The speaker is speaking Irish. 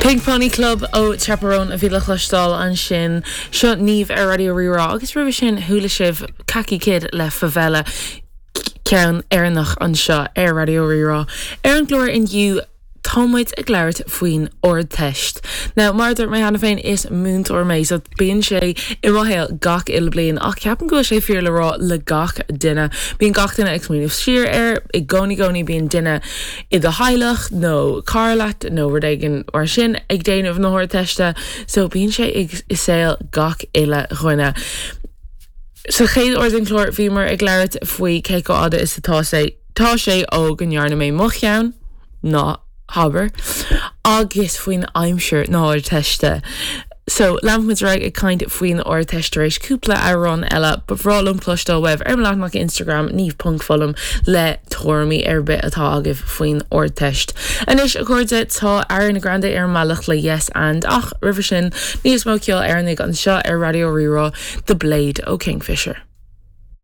Pink Pony Club ó Chappell Roan a bhí le cloisteáil ansin. Seo Niamh ar Raidió Rí-Rá agus roimhe sin chuala sibh Khaki Kid le Favela, ceann Éireannach anseo ar Raidió Rí-Rá. Ar an gclár inniu tá muid ag labhairt faoin Ardteist. Now mar a dúirt mé cheana féin is múinteoir mé so bíonn sé i mo shaol gach uile bliain ach ceapaim go bhfuil sé fíor le rá le gach duine. Bíonn gach duine ag smaoineamh siar air i gcónaí gcónaí bíonn duine i do theaghlach nó cara leat nó rud éigin mar sin ag déanamh na hArdteiste so bíonn sé i saol gach uile dhuine. Sa chéad uair den chlár bhíomar ag labhairt faoi cé chomh fhada is atá sé tá sé ó go ndearna mé mo cheann, ná habair, agus faoin aimsir na hArdteiste. So, leanfaidh muid ar aghaidh ag caint faoin Ardteist tar éis cúpla amhrán eile. Ba bhreá liom cloisteáil uaibh ar mo leathanach Instagram, niamh.fullam, le tuairimí ar bith atá agaibh faoin Ardteist. Anois, a chairde, tá Ariana Grande ar an mbealach le Yes And, ach roimhe sin, níos mó ceoil Éireannaigh anseo ar Raidió Rí-Rá, The Blade ó Kingfisher.